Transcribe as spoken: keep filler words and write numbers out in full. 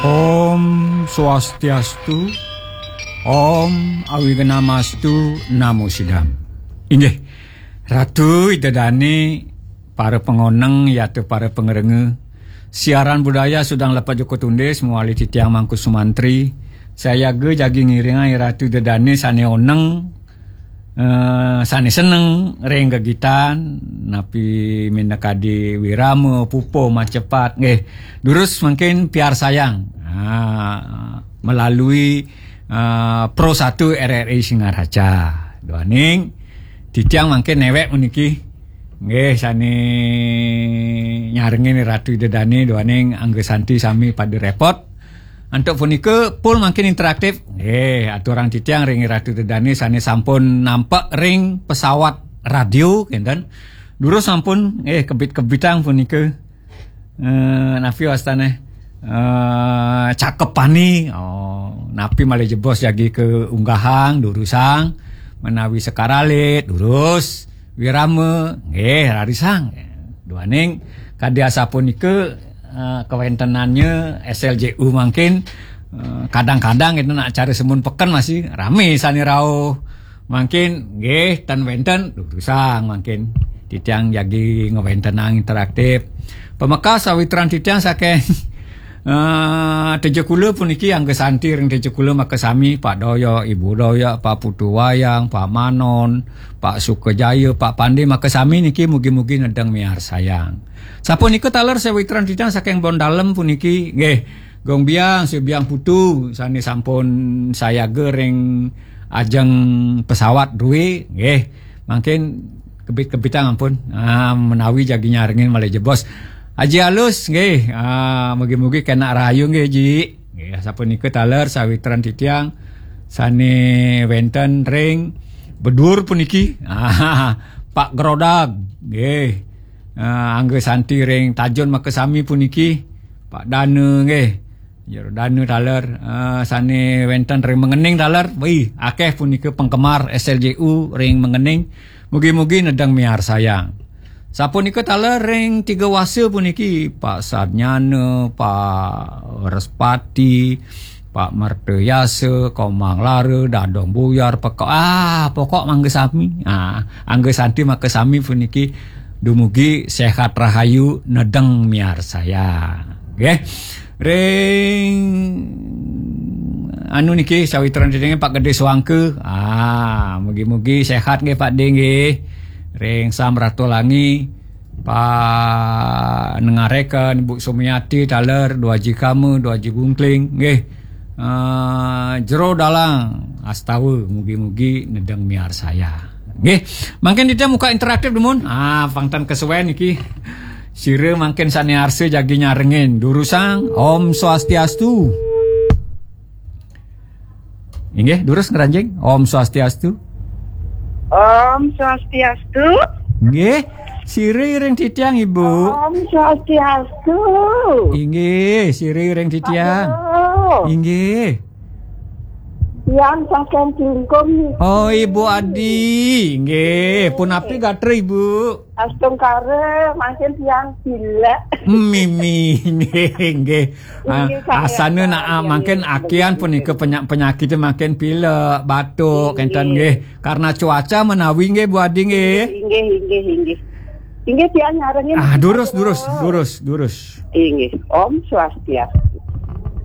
Om Swastiastu, Om Awignamastu Namo Sidam. Inggih, Ratu Ida Dane, para pangoneng, yata para pangrengga. Siaran budaya Sudang Lepat Joko Tundis, mawali titiang Mangku Sumantri. Sayaga jagi ngiringang Ratu Ida Dane sane oneng, eh, sane seneng ring gegitan, napi minakadi wirama, pupuh, macepat, nggih. Durus mangkin piarsayang, ah, melalui, ah, Pro Satu R R I Singaraja. Duaning titiang mangkin newek puniki, nggih, sane nyarengin Ratu Ida Dane, duaning Angga Santi sami pada repot. Antuk punika, pun mangkin interaktif. Nggih, aturang titiang ring Ratu Ida Dane sane sampun nampek ring pesawat radio, kenten. Durus sampun, nggih, kebit-kebitang punika. Eh, napi wastane? Eh, cakepane. Oh, napi malih jebos jagi kaunggahang, durusang. Menawi sekar alit, durus. Wirama, nggih, rarisang. Duaning kadi asapunika, eh, kawentenannya S L J U mangkin, eh, kadang-kadang kita nak acara semun peken masih rame sane rauh. Mangkin nggih ten wenten durusang mangkin. Titiang jagi ngawentenang interaktif. Pamekas sawitran titiang saking, eh, Tejakula puniki, Angga Santi ring Tejakula makasami, Pak Doyok, Ibu Doyok, Pak Putu Wayang, Pak Manon, Pak Sukajaya, Pak Pande makasami niki, mugi-mugi nedeng miarsayang. Sapunika taler sawitran titiang saking Bondalem puniki, nggih, Gong Biang, Sri Biang Putu sane sampun sayaga ring ajeng pesawat druwe, nggih. Mangkin kebit-kebitang ampun. Ah, menawi jagi nyarengin malih jebos. Aji Alus, nggih. Ah, mugi-mugi kenak rahayu, nggih, Ji. Nggih, sapunika taler sawitran titiang sane wenten ring Bedur puniki. Ah, Pak Grodag, nggih. Ah, Angga Santi ring Tajun makasami puniki. Pak Dana, nggih. Jero Dana taler, ah, sane wenten ring Mengening taler. Wih, akeh punika penggemar S L J U ring Mengening. Mugi-mugi nedeng miarsayang. Sapunika taler ring Tiga Wasa puniki, Pak Sarnyana, Pak Respati, Pak Mertayasa, Komang Lara, Dadong Buyar, pokok, ah, pokok mangga sami. Ah, Angga Santi makasami puniki dumugi sehat rahayu nedeng miarsayang. Nggih. Ring anu niki sawitran titiang Pak Gede Suangke. Ah, mugi-mugi sehat nggih Pak De nggih. Ring Sam Ratolangi, Pak Nengareken, Bu Sumiati taler, Dua Aji Kama, Dua Aji Gungkling nggih. Ah, Jero Dalang Astawa, mugi-mugi nedeng miarsayang. Nggih, mangkin kita muka interaktif dumun. Ah, pang ten kesuwen niki. Sira mangkin sane arsa jagi nyarengin. Durusang, Om Swastiastu. Inggih, durus ngranjing. Om Swastiastu. Om Swastiastu. Nggih, sira ring titiang, Ibu. Om Swastiastu. Inggih, sira ring titiang. Aduh. Inggih. Yang saking Klungkung niki. Oh, Ibu Adi. Nggih, punapi gatra, Ibu? Astungkara, mangkin tiang pilek. Mimi, nggih, nggih. Ah, nggih, kaya asana nak, ah, mangkin akéhan punika penya-, penyakit mangkin pilek, batuk, kenten nggih. Karena cuaca menawi nggih, Bu Adi nggih. Inggih, inggih, inggih. Inggih, tiang nyarengin. Ah, durus, durus, durus, durus. Inggih. Om Swastiastu.